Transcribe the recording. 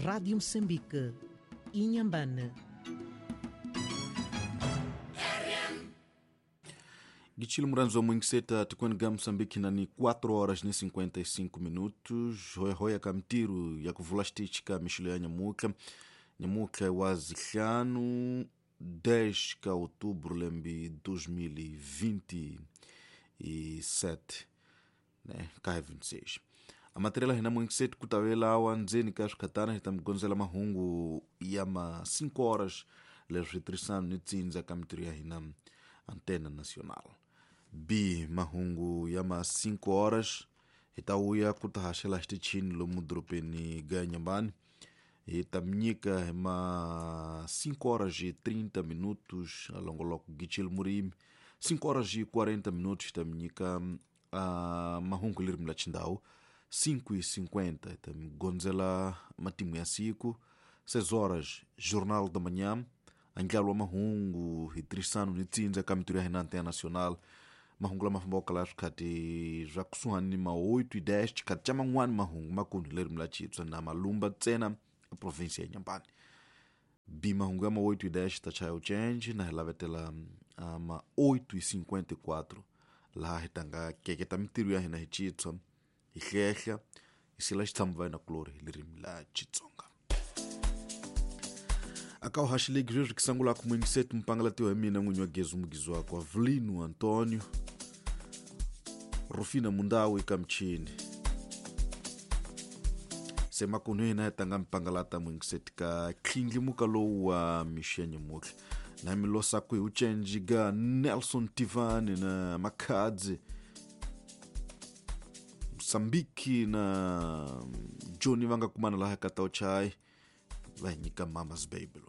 Rádio Moçambique, Inhambane. Gichilo muranzo mwingiseta tikweniga Moçambique nani 4 horas ne 55 minutos. Hoya kamtiru ya kuvula xitichi mixilo ya nyamuka nyamuka wa zihlanu 10 ka outubro lembe 2027 né ka 26 a matéria hina mwingiseti kutavela ndzeni ka swikhatana hi ta mi gondzela mahungu ya ma 5 horas leswi tirhisana ni tsindza ka mitirho ya hina Antena Nacional. B mahungu ya ma 5 horas hi ta vuya ku ta haxela xitichini lomu dorobeni ga Inhambane. Hi ta mi nyika hi ma 5 horas e 30 minutos alongoloko Gichil Murimi. 5 horas e 40 minutos hi ta mi nyika mahungu lerimi la xindhawu. 5:50 hi ta mi gondzela matimu ya siku. 6 horas Jornal da Manhã. Andlalo wa mahungu hi tirhisano ni tsindza ka mitirho ya hina Antena Nacional. Mahungu lama fambaka la swikhati swa kusuhani ni ma 8:10 xikhati xa man'wani mahungu makulu hi lerimi la Xitswa na Malumba ntsena eprovinsi ya Inhambane. B mahungu ya ma 8:10 ta chaya change na hi lavetela ma 8:54 laha hi tanga keketa mitirho ya hina hi Xitswa hi hlehla hi sila xitshamo va hina kulori hi lerimi la Xitsonga. Aka uhaxilegi sweswi kisangulaka mwingiseti mpangalatiwa hi mina n'winyi wa Gezu mugizi wakwe Avelino Antonio Rufina Mundawu eka michini. Se makunu hina hi tanga mpangalata mwingiseti ka tlindlimuka lowu wa mixo ya nyamutlha na mi losaku hi ucenji ga Nelson Tivani na Makhadzi Msambiki na Johnny va nga kumana laha ka Tauchai va hi nyika Mama's Baby.